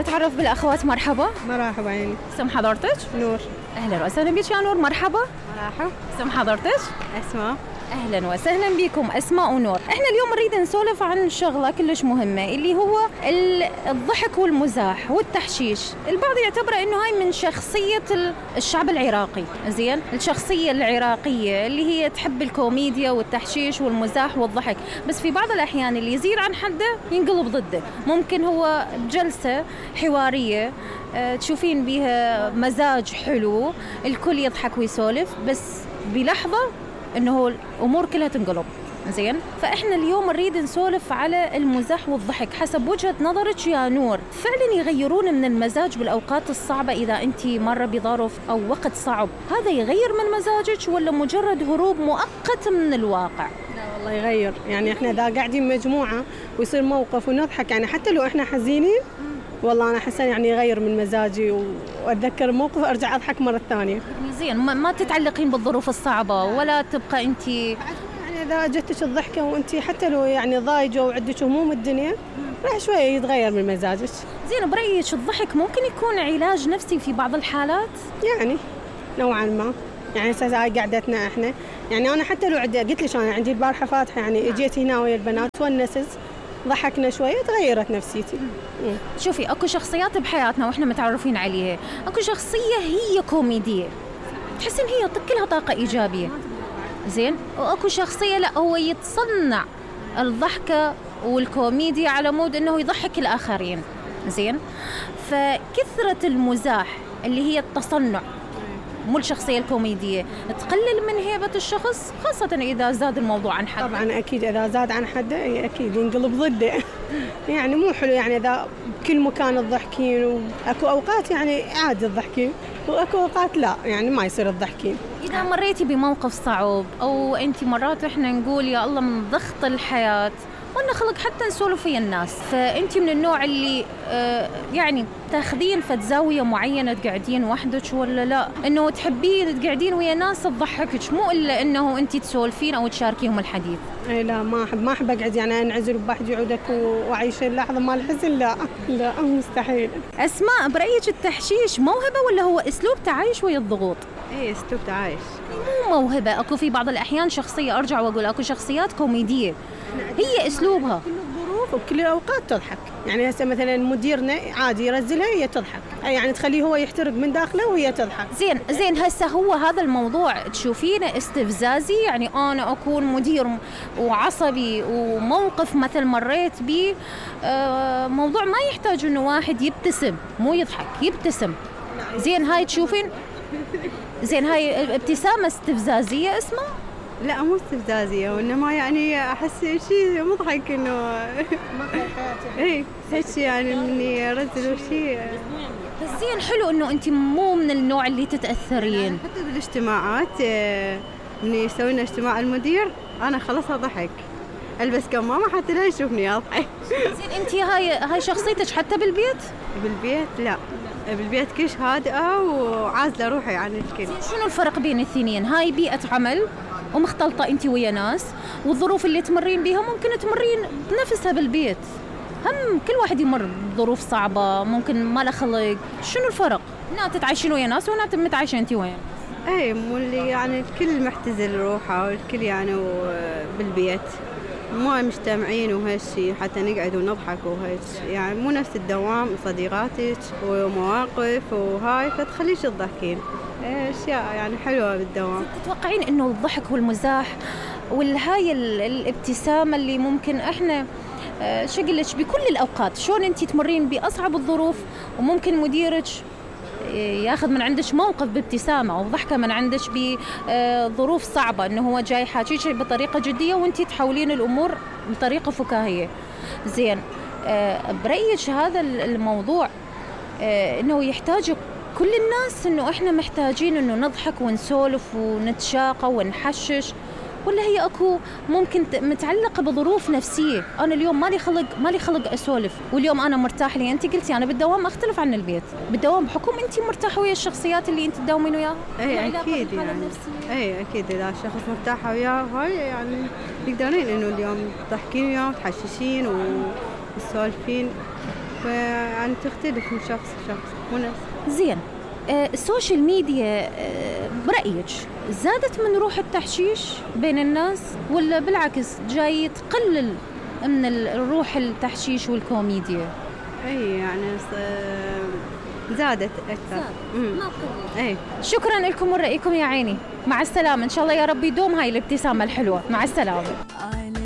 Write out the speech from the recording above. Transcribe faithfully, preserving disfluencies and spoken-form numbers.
نتعرف بالاخوات. مرحبا. مرحبا عيني. اسم حضرتك؟ نور. اهلا وسهلا بك يا نور. مرحبا. مرحبا. اسم حضرتك؟ اسماء. اهلا وسهلا بكم اسماء ونور. احنا اليوم نريد نسولف عن شغله كلش مهمه اللي هو الضحك والمزاح والتحشيش. البعض يعتبر انه هاي من شخصيه الشعب العراقي، زين، الشخصيه العراقيه اللي هي تحب الكوميديا والتحشيش والمزاح والضحك، بس في بعض الاحيان اللي يزيد عن حده ينقلب ضده. ممكن هو بجلسه حواريه أه تشوفين بيها مزاج حلو، الكل يضحك ويسولف، بس بلحظه انه الامور كلها تنقلب. زين، فاحنا اليوم نريد نسولف على المزاح والضحك حسب وجهة نظرك يا نور. فعلا يغيرون من المزاج بالاوقات الصعبة؟ اذا انت مرة بظرف او وقت صعب هذا يغير من مزاجك ولا مجرد هروب مؤقت من الواقع؟ لا والله يغير، يعني احنا اذا قاعدين مجموعة ويصير موقف ونضحك، يعني حتى لو احنا حزينين والله أنا أحسن يعني يغير من مزاجي، وأتذكر الموقف أرجع أضحك مرة ثانية. زين، ما تتعلقين بالظروف الصعبة ولا تبقى أنت يعني إذا جتك الضحكة وأنت حتى لو يعني ضايجة وعندك هموم الدنيا راح شوية يتغير من مزاجك. زين، برأيك الضحك ممكن يكون علاج نفسي في بعض الحالات؟ يعني نوعا ما، يعني هسه هاي قعدتنا احنا، يعني أنا حتى لو عندي قلت لك أنا عندي البارحة فاتحة، يعني اجيت هنا ويا البنات ونست ضحكنا شوية تغيرت نفسيتي. مم. شوفي، اكو شخصيات بحياتنا واحنا متعرفين عليها، اكو شخصية هي كوميدية تحس ان هي كلها طاقة ايجابية، زين، واكو شخصية لا هو يتصنع الضحكة والكوميديا على مود انه يضحك الاخرين. زين، فكثرة المزاح اللي هي التصنع مو الشخصية الكوميدية تقلل من هيبة الشخص، خاصة إذا زاد الموضوع عن حده. طبعا أكيد إذا زاد عن حده أكيد ينقلب ضده. يعني مو حلو، يعني إذا بكل مكان تضحكين، وأكو أوقات يعني عادي تضحكين وأكو أوقات لا، يعني ما يصير تضحكين. إذا مريتي بموقف صعب أو أنت مرات إحنا نقول يا الله من ضغط الحياة وانا خلق حتى نسولف ويا الناس، فانت من النوع اللي آه يعني تاخذين فد زاويه معينه تقعدين وحدك ولا لا انه تحبين تقعدين ويا ناس تضحكك، مو الا انه انت تسولفين او تشاركيهم الحديث؟ اي لا، ما احب ما احب اقعد يعني انعزل بوحدي عودك واعيش اللحظه مال الحزن، لا لا مستحيل. اسماء، برايك التحشيش موهبه ولا هو اسلوب تعايش ويا الضغوط؟ اي اسلوب تعايش، مو موهبه. اكو في بعض الاحيان شخصيه، ارجع واقول اكو شخصيات كوميديه هي اسلوبها كل الظروف وكل الاوقات تضحك. يعني هسه مثلا مديرنا عادي يرزلها هي تضحك، يعني تخليه هو يحترق من داخله وهي تضحك. زين زين هسه هو هذا الموضوع تشوفينه استفزازي؟ يعني انا اكون مدير وعصبي وموقف مثل مريت به آه موضوع ما يحتاج انه واحد يبتسم مو يضحك، يبتسم. زين هاي تشوفين زين هاي ابتسامه استفزازيه اسمها؟ لا مو استفزازية، وإنما يعني أحس شيء مضحك إنه إيه هيك يعني مني رزل وشيء. بس زين حلو إنه أنت مو من النوع اللي تتأثرين. حتى بالاجتماعات مني سوينا اجتماع المدير أنا خلصها ضحك، ألبس كمامة حتى لا يشوفني أضحك. زين أنت هاي هاي شخصيتك حتى بالبيت؟ بالبيت لا، بالبيت كلش هادئة وعازلة روحي عن الكل. شنو الفرق بين الاثنين؟ هاي بيئة عمل ومختلطة أنت ويا ناس، والظروف اللي تمرين بيها ممكن تمرين بنفسها بالبيت. هم كل واحد يمر بظروف صعبة، ممكن ما له خلق. شنو الفرق؟ هنا تتعايشين ويا ناس وهنا متعايشين أنت وين؟ اي مو اللي يعني الكل محتزل روحه والكل يعني بالبيت مو مجتمعين وهالشي حتى نقعد ونضحك وهيك، يعني مو نفس الدوام صديقاتك ومواقف وهاي فتخليش تضحكين اشياء يعني حلوه بالدوام. تتوقعين انه الضحك والمزاح والهاي الابتسامه اللي ممكن احنا شو اقول لك بكل الاوقات، شلون انت تمرين باصعب الظروف وممكن مديرك ياخذ من عندك موقف بابتسامه او ضحكه من عندك بظروف صعبه، انه هو جاي حاكيك بطريقه جديه وانت تحولين الامور بطريقه فكاهيه. زين برايك هذا الموضوع انه يحتاج كل الناس، انه احنا محتاجين انه نضحك ونسولف ونتشاقى ونحشش، ولا هي اكو ممكن متعلقه بظروف نفسيه؟ انا اليوم مالي خلق مالي خلق اسولف، واليوم انا مرتاح لي. انت قلتي انا بالدوام اختلف عن البيت، بالدوام بحكم انت مرتاحه ويا الشخصيات اللي انت تداومين وياها. اي اكيد يعني اي اكيد اذا الشخص مرتاحه وياه هاي يعني تقدرين انه اليوم تضحكين وياه وتحششين وتسولفين فيعني تختلف من شخص لشخص مو نفس. زين، آه السوشيال ميديا آه برأيك زادت من روح التحشيش بين الناس ولا بالعكس جاي تقلل من الروح التحشيش والكوميديا؟ اي يعني زادت اكثر. زاد. ما قلت. اي شكرا لكم ورأيكم يا عيني، مع السلامة، ان شاء الله يا رب يدوم هاي الابتسامة الحلوة، مع السلامة.